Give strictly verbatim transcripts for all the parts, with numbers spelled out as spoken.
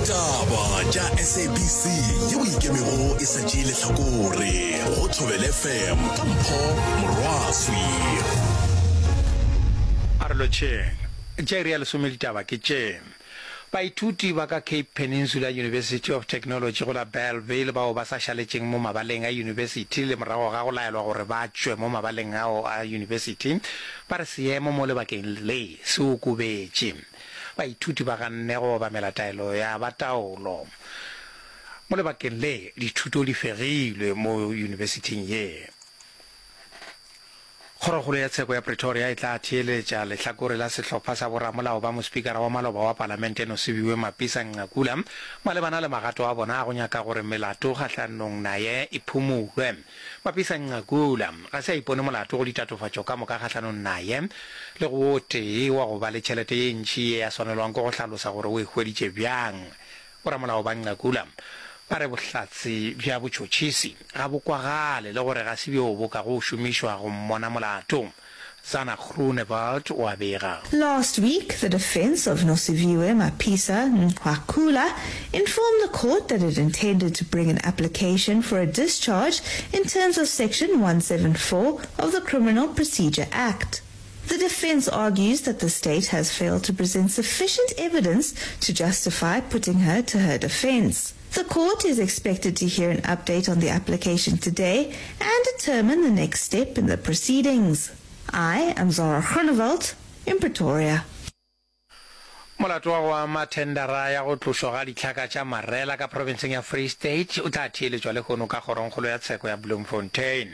Ditaba tša S A B C yeo ikemego e sa tšee lehlakore go Thobela F M ka Mpho Morwaswi. A re lotšheng. Tša iri ya lesome ditaba ke tše. Baithuti ba ka Cape Peninsula University of Technology go la Bellville bao ba sa šaletšeng mo mabaleng a yunibesithi le morago ga go laelwa gore ba tšwe mo mabaleng ao a yunibesithi ba re seemo mo lebakeng le se okobetše. Baithuti ba ganne go obamela taelo ya ba taolo. Mo lebakeng le dithuto di fegilwe mo yunibesithing ye. Kgorokgolo ya Tsheko ya Pretoria e tla theeletša lehlakore la sehlopha sa boramolao ba mospikara wa maloba wa Palamente Nosiviwe Mapisa Nqakula malebana le magato a bona a go nyaka gore melato kgahlanong naye e phumulwe. Mapisa Nqakula ga se a ipone molato go ditatofatšo ka moka kgahlanong naye le go o tee wa go ba le tšhelete ye ntši ye a swanelwang ke go hlalosa gore o e hweditše bjang. Boramolao ba Nqakula ba re bohlatse bja botšhotšhisi ga bo kwagale le gore ga se bjo bo ka go šomišwa go mmona molato. Zana Groenewald o a bega. Last week, the defense of Nosiviwe Mapisa Nqakula informed the court that it intended to bring an application for a discharge in terms of Section one seventy-four of the Criminal Procedure Act. The defense argues that the state has failed to present sufficient evidence to justify putting her to her defense. The court is expected to hear an update on the application today and determine the next step in the proceedings. I am Zara Groenewald in Pretoria. Molato wa go ama thendara ya go tlošwa ga ditlhaka tša marela ka profenseng ya Free State o tla theeletšwa lehono ka kgorongkgolo ya tsheko ya Bloemfontein.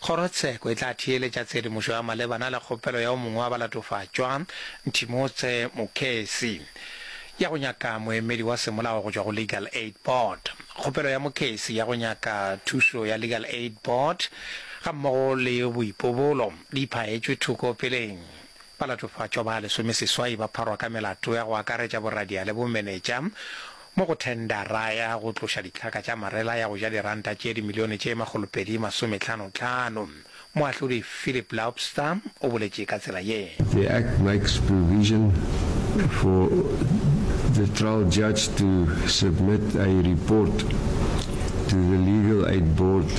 Kgorotsheko e tla theeletša tshedimošo ya malebana le kgopelo ya o mongwe wa balatofatšwa, Nthimotse Mokhesi, ya go nyaka moemedi wa semolao go tšwa go Legal Aid Board. Kgopelo ya Mokhesi ya go nyaka thušo ya Legal Aid Board gammogo le boipobolo di phaetšwe thoko peleng. Balatofatšwa ba lesomeseswai ba pharwa ka melato ya go akaretša boradia le bomenetša mo go thendara ya go tloša ditlhaka tša marela ya go ja diranta tše dimilione tše makgolopedi masomehlanohlano. Moahlodi Philip Lobster o boletše ka tsela ye. The Act makes provision for the trial judge to submit a report to the Legal Aid Board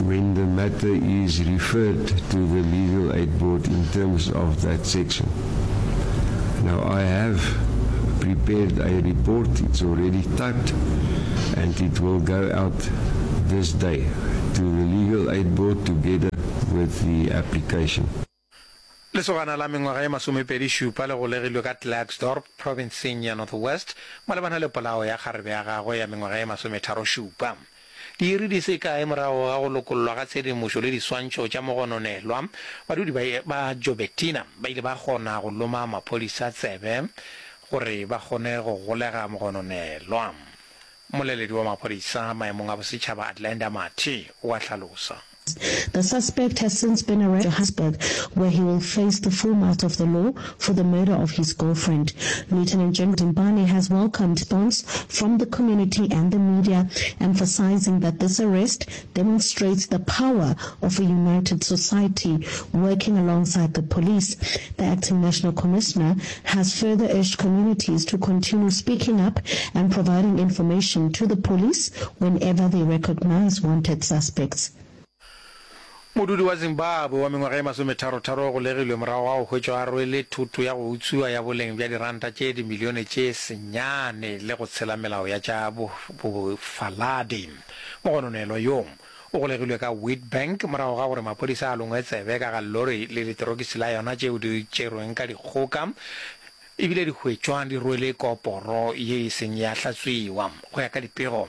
when the matter is referred to the Legal Aid Board in terms of that section. Now, I have prepared a report, it's already typed, and it will go out this day to the Legal Aid Board together with the application. Lesogana la mengwaga ye masomepedi šupa le golegilwe ka Klerksdorp profenseng ya North West malebana le polao ya kgarebe ya gagwe ya mengwaga ye masometharo šupa. Diiri di se kae morago ga go lokollwa ga tshedimošo le diswantšho tša mogononelwa, badudi ba, ba Joubertina ba ile ba kgona go loma maphodisa tsebe gore ba kgone go golega mogononelwa. Mmoleledi wa maphodisa maemong a bosetšhaba Athlenda Mathe o a hlalosa. The suspect has since been arrested in Johannesburg, where he will face the full might of the law for the murder of his girlfriend. Lieutenant General Dimpane has welcomed response from the community and the media, emphasizing that this arrest demonstrates the power of a united society working alongside the police. The acting national commissioner has further urged communities to continue speaking up and providing information to the police whenever they recognize wanted suspects. Modudi wa Zimbabwe wa mengwaga e masometharotharo o golegilwe morago ga go hwetšwa a rwele thoto ya go utswiwa ya boleng bja diranta tše dimilione tše senyane le go tshela melao ya tša bofaladi. Mogononelwa yo o golegilwe ka Witbank morago ga gore maphodisa a longwe tsebe ka ga lori le leterokisi la yona tšeo di tšerweng ka dikgoka ebile di hwetšwa di rwele koporo ye e seng ya hlatswiwa. Go ya ka dipego,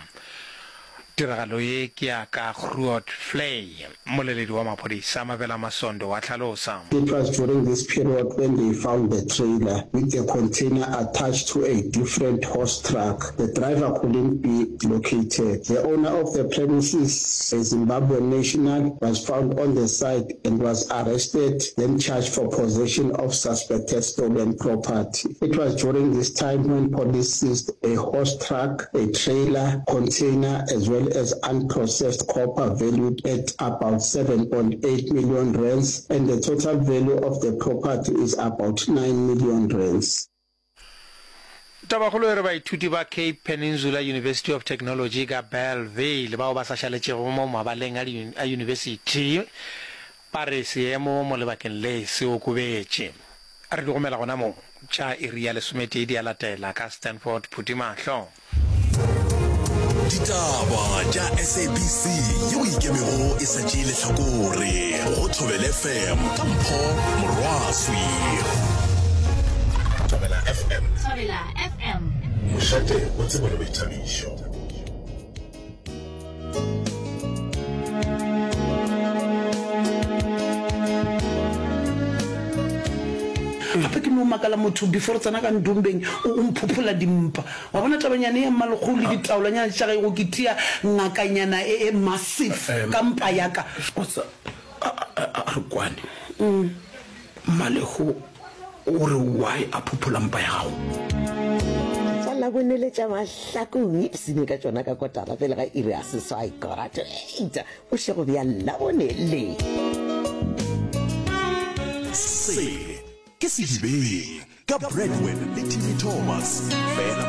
tiragalo ye ke ya ka Grootvlei. Mmoleledi wa maphodisa Mabela Masondo wa hlalosa. It was during this period when they found the trailer with the container attached to a different horse truck. The driver couldn't be located. The owner of the premises, a Zimbabwean national, was found on the site and was arrested, then charged for possession of suspected stolen property. It was during this time when police seized a horse truck, a trailer, container, as well as unprocessed copper valued at about seven point eight million rands, and the total value of the property is about nine million rands. Tabakgolo e re baithuti ba Cape Peninsula University of Technology ka Bellville bao ba sa šaletšego mo mabaleng a yunibesithi ba re seemo mo lebakeng le se okobetše. Re di gomela gona mo tša iri ya lesometee di a latela ka Stanford Phuthimahlo. Ditaba tša SABC yeo e ikemego e sa tšee lehlakore go Thobela FM ka Mpho Morwaswi. Thobela FM. Thobela FM. Mošate wa tsebo le boithabišo. Gape ke no makala motho before re tsena ka ndombeng o mphophola dimpa. Wa bona tabanyana ya mmalekgolo le ditaolanyana tša gae go ke tia ngakanyana e e massive ka mpa ya ka. Wa tseba, a, a, a re kwane. Mmalekgo o re why a phophola mpa ya gago? Tša Labone le tša Mahlakong, ipshine ka tšona ka kotara pele ga iri ya seswai, quarter to eight, bošego bja Labone le. Se ke Sedibeng ka Bradwen le Timmy Thomas, fela